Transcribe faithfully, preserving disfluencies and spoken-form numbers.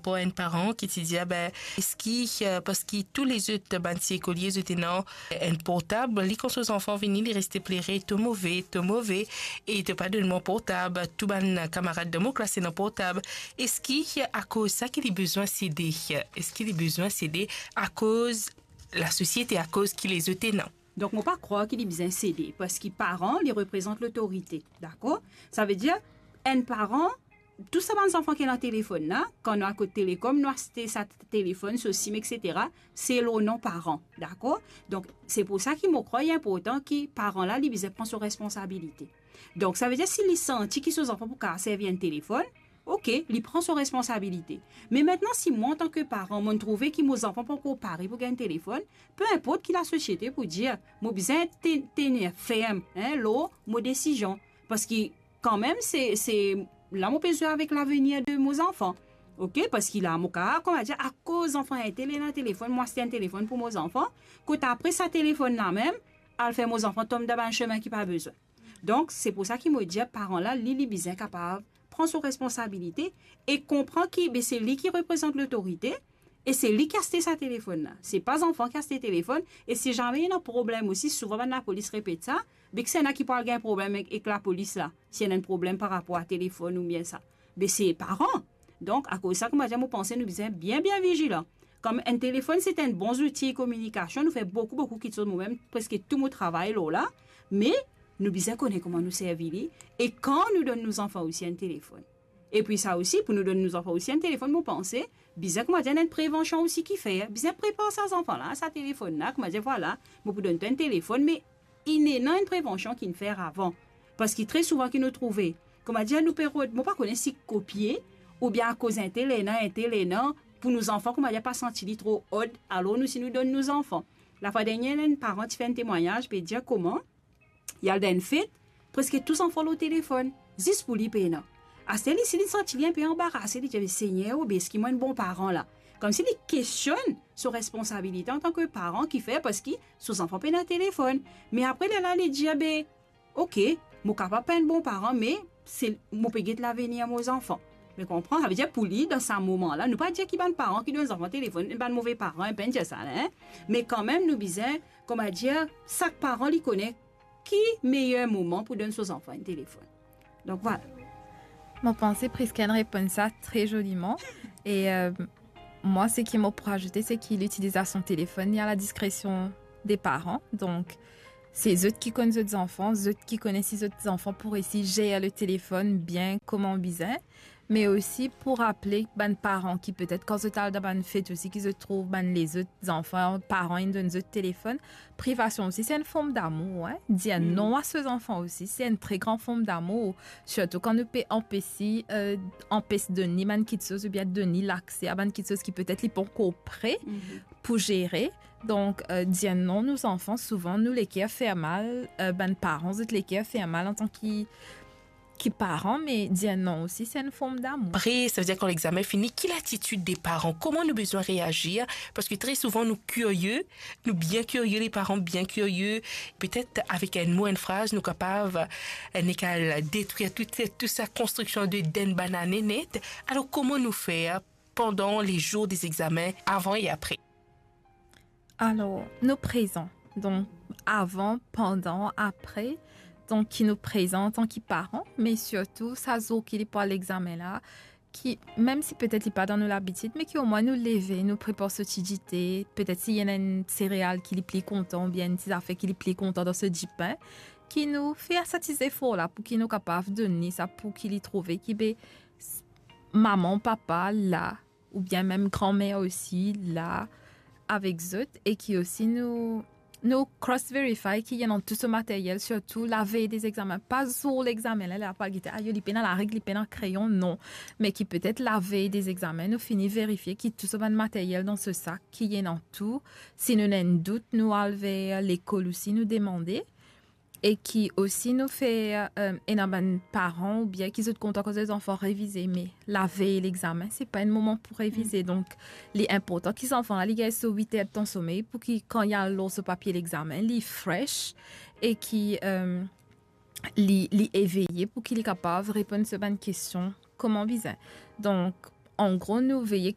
Pou enn paran ki ti dir, be, eski, eh, parski tou lezot bann ti ekolie zot ena enn portab, li kan so zanfan vini, li reste plere, to move, to move, e to pa donn mwa portab, tou bann kamarad dan mo klas ena portab. Eski akoz sa ki li bizin sede? Eski li bizin sede akoz lasosiete, akoz ki lezot ena? Donk, mo pa krwar ki li bizin sede, parski paran, li reprezant lotorite, dakor? Savedir, enn paran, tou sa bann zanfan ki ena telefonn la, kan nou al kot Telecom, nou aste sa telefonn, so sim, et cetera, se lor non paran, dakor? Donk, se pou sa ki mo krwar li inportan ki paran la, li bizin pran so responsabilite. Donk, savedir, si li santi ki so zanfan pou kapav servi enn telefonn, ok, li pran so responsabilite. Me aster, si mwa, antan ki paran, mo'nn trouve ki mo zanfan pankor pare pou gagn telefonn, pe inport ki lasosiete pou dir, mo bizin te-, tenir ferm, hein, lor mo desizion. Parski, kanmem, se, se la mo pe zwe avek lavenir de mo zanfan. Ok, parski la, mo kapav, kouma dir, akoz zanfan entel ena telefonn, mo aste enn telefonn pou mo zanfan, kot apre sa telefonn la mem, al fer mo zanfan tom dan bann semin ki pa bizin. Donk, se pou sa ki mo dir, paran la, li, li bizin kapav pran so responsabilite e konpran ki, be, se li ki reprezant lotorite e se li ki aste sa telefonn la. Se pa zanfan ki aste telefonn, e si zame ena problem osi, souvan bann lapolis repet sa, be, kisannla ki pou al gagn problem ek, ek lapolis la, si ena enn problem par rapor a telefonn oubien sa? Be, se paran. Donk, akoz sa, kouma dir, mo panse nou bizin bien, bien vizilan. Kom enn telefonn, se enn bon zouti kominikasion, nou fer boukou, boukou kiksoz, mo mem, preske tou mo travay lor la, me nou bizin kone kouma nou servi li, e kan nou donn nou zanfan osi enn telefonn. Epi sa osi, pou nou donn nou zanfan osi enn telefonn, mo panse, bizin, kouma dir, enn prevansion osi ki fer, bizin prepar sa zanfan la, sa telefonn la, kouma dir, vwala, mo pou donn twa enn telefonn, me inn ena enn prevansion ki'nn fer avan. Parski tre souvan ki nou trouve, kouma dir, nou pe rod, mo pa kone si kopie, oubien akoz entel ena, entel ena, pou nou zanfan, kouma dir, pa santi li tro odd, alor nou si nou donn nou zanfan. Lafwa dernie, enn paran ti fer enn temwagnaz, pe dir kouma, li al dan enn fet, preske tou zanfan lor telefonn, zis pou li pena. Aster li, si li santi li inpe anbarase, li dir, "Segner, o be, eski mwa enn bon paran la?" Koumsi li kestionn so responsabilite antan ki paran ki fer, parski so zanfan pena telefonn. Me apre, lerla li dir, "Be, ok, mo kapav pa enn bon paran, me se, mo pe get lavenir mo zanfan." Mo konpran, savedir pou li, dan sa moman la, nou pa dir ki bann paran ki donn zanfan telefonn, bann move paran, nou pa'nn dir sa la, hein? Me kanmem, nou bizin, kouma dir, sak paran li kone ki meyer moman pou donn so zanfan enn telefonn. Donk, vwala. Mo panse Prisca inn reponn sa tre zoliman. E, euh, mwa, seki mo pou razoute, se ki litilizasion telefonn, li a la diskresion de paran. Donk, se zot ki konn zot zanfan, zot ki kone si zot zanfan pou resi zer le telefonn bien kouma bizin. Me osi pou raple bann paran ki petet kan zot al dan bann fet osi ki zot trouv bann lezot zanfan, paran inn donn zot telefonn, privasion osi, se enn form damour, hein. Dir non a so zanfan osi, se enn tre gran form damour. Sirtou kan nou pe anpesi, euh, anpes donn li bann kiksoz oubien donn li lakse a bann kiksoz ki petet li pankor pre pou zere. Donk, euh, dir non nou zanfan, souvan nou leker fer mal, euh, bann paran, zot leker fer mal antan ki, ki paran, me dir non osi, se enn form damour. Apre, savedir kan lexamen fini, ki latitid de paran? Kouma nou bizin reazir? Parski tre souvan nou kirie, nou bien kirie, le paran bien kirie. Petet avek enn mo, enn fraz, nou kapav, euh, nek al detrir tou, tou sa konstriksion de enn bann ane net. Alor, kouma nou fer pandan le zour de lexamen, avan e apre? Alor, nou prezan. Donk, avan, pandan, apre. Donk, ki nou prezan antan ki paran, me sirtou sa zour ki li pou al lexamen la, ki, mem si petet li pa dan nou labitid, me ki omwin nou leve, nou prepar so ti dite, petet si ena enn sereal ki li pli kontan, oubien enn ti zafer ki li pli kontan dan so dipin, ki nou fer sa ti zefor la, pou ki nou kapav donn li sa, pou ki li trouve ki be s-, mama, papa la, oubien mem granmer osi la avek zot, e ki osi nou, nou cross verify ki ena tou so materyel, sirtou lavey de lexamen, pa zour lexamen la, la pou al gete, ayo, li pena lareg, li pena kreyon, non. Me ki petet lavey de lexamen, nou fini verifie ki tou so bann materyel dan so sak, ki ena tou. Si nou ena enn dout, nou al ver lekol osi, nou demande. E ki osi nou fer, euh, ena bann paran oubien ki zot kontan kan zot zanfan revize, me lavey lexamen, se pa enn moman pou revize. Donk, li inportan ki zanfan la, li gagn so wit er de tan somey pou ki kan li al lor so papie lexamen, li fresh e ki, euh, li, li eveye pou ki li kapav reponn so bann kestion kouma bizin. Donk, an gro, nou veye